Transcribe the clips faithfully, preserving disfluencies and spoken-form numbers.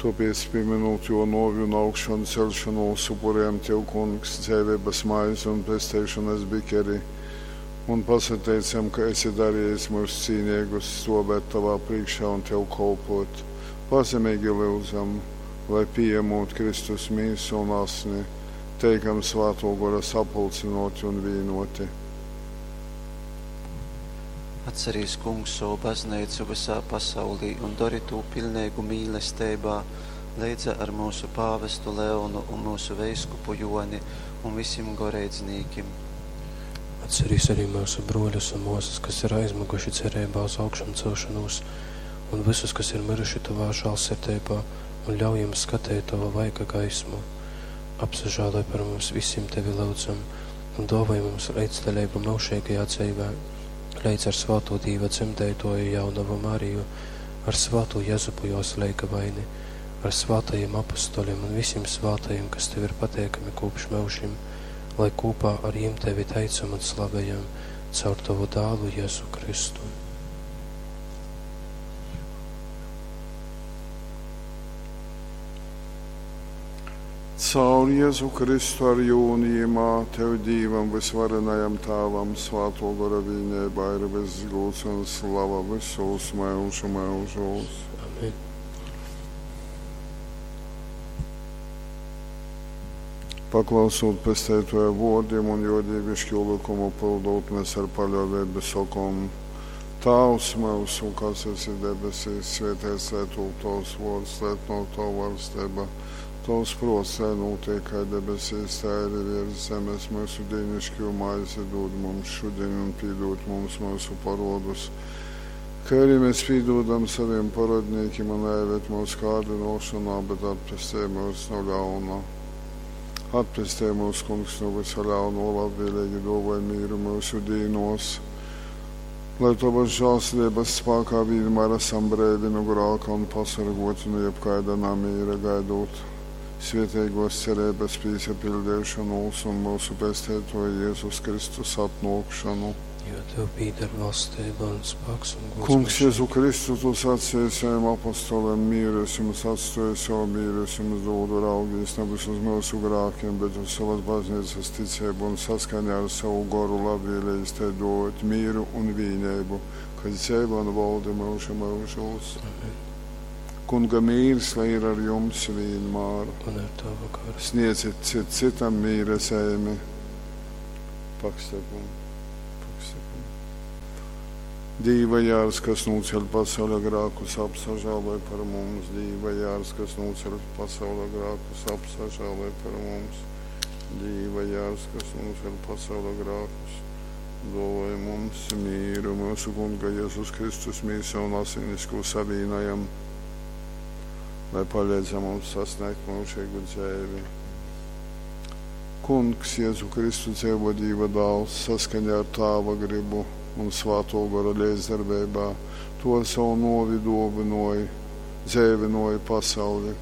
Tōpēc, pīmynūt Jō nōvi un augšanceļšonūs, upurejam Tev, Kungs, dzeiveibas maizi un pesteišonas bikeri un pasateicam, ka esi darejis myus cīneigus stōvēt Tovā prīškā un Tev kolpōt. Pazemeigi lyudzam, lai, pījamūt Kristus mīsu un asni, teikam Svātō Gora sapulcynōti un vīnōti. Atcerīs, Kungs, sovu bazneicu vysā pasaulī un dori tū piļneigu mīlesteibā, leidza ar myusu pāvestu Leonu un myusu veiskupu Jōni un visim goreidznīkim. Atcerīs arī myusu brōļus un mōsas, kas ir aizmyguši cereibā uz augšamcelšonūs, un vysus, kas ir myruši tovā žālsirdeibā, un ļauj jim skateit tova vaiga gaismu. Apsažāloj par mums visim, tevi lyudzam, un dōvoj mums leidzdaleibu myužeigajā dzeivē, leidz ar svātū Dīva dzemdeitōju jaunovu Mariju, ar svātū Jezupu jōs leigavaini, ar svātajim apostolim un visim svātajim, kas tev ir pateikami kopš myužim, lai kopā ar jim tevi teicam un slavējam caur tavu dālu Jēzu Kristu. Caur Jēzu Kristu ar jū un jimā Tev Dīvam vysvarenajam Tāvam Svātō Gora vīneibā ir vyss gūds un slava vysūs myužu myužūs. Amen. Paklausūt Pesteitōja vōrdim un jō dīviškū lykumu pyldūt, mēs ar paļōveibu sokom: Tāvs myusu, kas esi debesīs, svēteits lai tūp tovs vōrds, lai atnōk tova valsteiba. Tovs prōts, lai notiek kā debesīs, tā arī virs zemes. Mūsu dīnišķo maizi dod mums šodien un piedod mums mūsu parodus, kā arī mēs piedodam saviem parodniekiem un neieved mūsu kārdināšanā, bet atpestī mūs no ļauna. Atpestī mūs, Kungs, no visa ļauno, labvēlīgi dāvāj mieru mūsu dīnos, lai tavas žēlsirdības spēkā vienmēr esam brīvi no grēka un pasargoti no jebkāda namiera gaidot svētīgos cerības piepildīšanos un mūsu Pestītoja Jēzus Kristus atnākšanu. Jo tev pieder valstība un spēks un gods. Kungs, Jēzu Kristu, tu sacīji saviem apostoliem, mieru es jums atstāju, savu mieru es jums dodu, raugīs nevis uz mūsu grēkiem, bet uz savas baznīcas ticību un saskaņā ar savu goru labvēlīgi te dot mieru un vienību, kas dzīvo un valda mūžu mūžos. Amen. Kunga mīrs, lai ir ar jums vienmēr. Un ar tavu garu. Sniedziet cit citam mīra zīmi. Pakstepam, pakstepam. Dīva jārs, kas nūceļ pasaules grēkus, apsažāloj par mums. Dīva jārs, kas nūceļ pasaules grēkus, apsažāloj par mums. Dīva jārs, kas nūceļ pasaules grēkus, dāvāj mums mīru, mūsu Kunga Jēzus Kristus mīsa un asinis, ko savīnojam, lai palīdz mums sasniegt mūžīgu dzīvi. Kungs, Jēzu Kristu, dzīvo Dieva dēls, saskaņā ar Tāva gribu un Svēto Gora līdzdarbībā, to ar savu novi dāvināja, dzīvināja pasauli,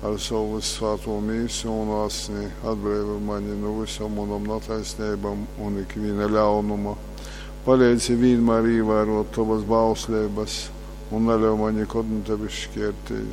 ar savu svēto mīsu un asni atbrīvo mani no visam manam netaisnībām un ikviena ļaunuma. Palīdzi vienmēr ievērot tavas bauslības un neļauj man nekad no tevis šķirties.